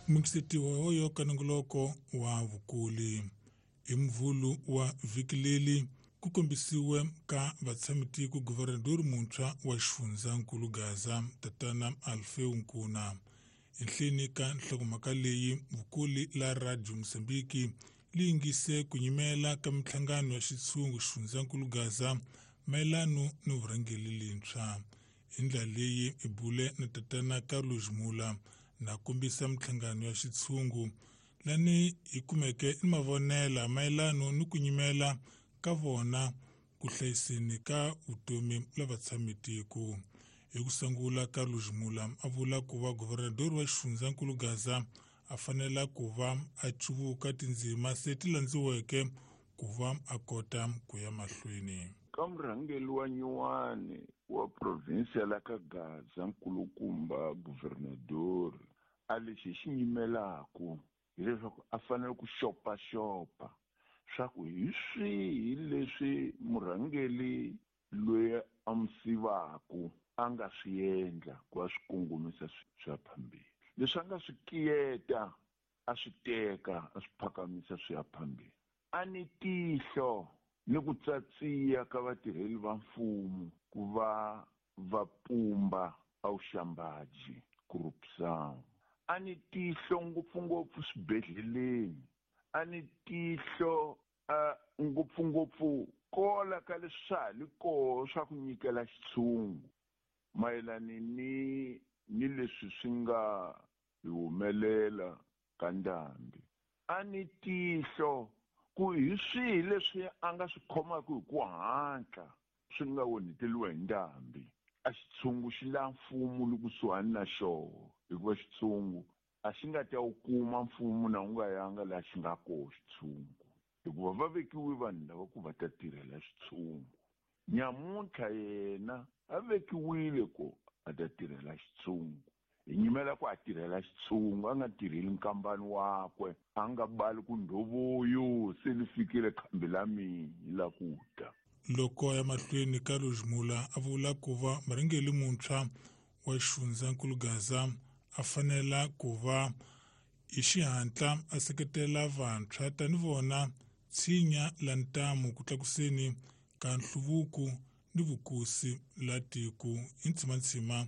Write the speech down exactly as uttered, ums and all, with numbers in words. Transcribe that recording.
Mukisetiwa hoyo ka nongoloko wa vukuli. Hi Mvhulu wa vhiki leri ku kombisiwe ka vatshamitiko guvernador muntshwa wa xifundzankulu Gaza tatana Alfeu Nkuna. Enhleni ka nhlokomhaka leyi vukuli la Radio Mozambique li yingise ku nyimela ka minhlangano ya xitshungu xifundzankulu Gaza mayelano ni vurhangeri lintshwa. Hi ndlela leyi i bule na tatana Carlos Mula na kombisa minhlangano ya xitshungu lani hi kumeke ni mavonela mayelano ni ku nyimela ka vona ku hlayiseni ka vutomi la vatshamitiko. Hi ku sungula Carlos Mula a vula ku va guvernador wa xifundzankulu Gaza a fanela ku va a cuvuka tindzima se ti landziweke ku va a kota ku ya mahlweni. Ka murhangeri wa nyuwani wa provinsi ya la ka Gaza nkulukumba guvernador a lexi xi nyimelaku hileswaku a fanele ku xopaxopa swa ku hi swihi leswi murhangeri loyi a mu sivaku a nga swi endla ku va swi kongomisa swi ya phambili, leswi a nga swi kiyeta a swi teka a swi phakamisa swi ya phambili. A ni tihlo ni ku tsatsiya ka vatirheli va mfumo ku va va pumba a vuxambaji corruption. A ni tihlo ngopfungopfu swibedhleleni, a ni tihlo a ngopfungopfu kola ka leswi swa ha li koho swa ku nyikela xitshungu mayelana ni ni leswi swi nga hi humelela ka ndhambi. A ni tihlo ku hi swihi leswi a nga swi khomaka hi ku hatla swi nga onheteriwa hi ndhambi. A xitshungu xi la mfumo li kusuhani na xoho, hikuva xitshungu a xi nga ta wu kuma mfumo na wu nga yanga laha xi nga koho xitshungu, hikuva va vekiwe vanhu lava ku va ta tirhela xitshungu. Nyamuntlha yena a vekiwile ku a ta tirhela xitshungu, hi nyimela ku a tirhela xitshungu, a nga tirheli nkambani wakwe, a nga bali ku ndhovuyo se li fikile khambi la mina la ku ta. Loko ya mahlweni Carlos Mula a vula ku va murhangeri muntshwa wa xifundzankulu Gaza a fanela ku va hi xihatla a seketela vantshwa tani vona tshinya la ntamu ku tlakuseni ka nhluvuko ni vukosi la tiko hi ntsimantsima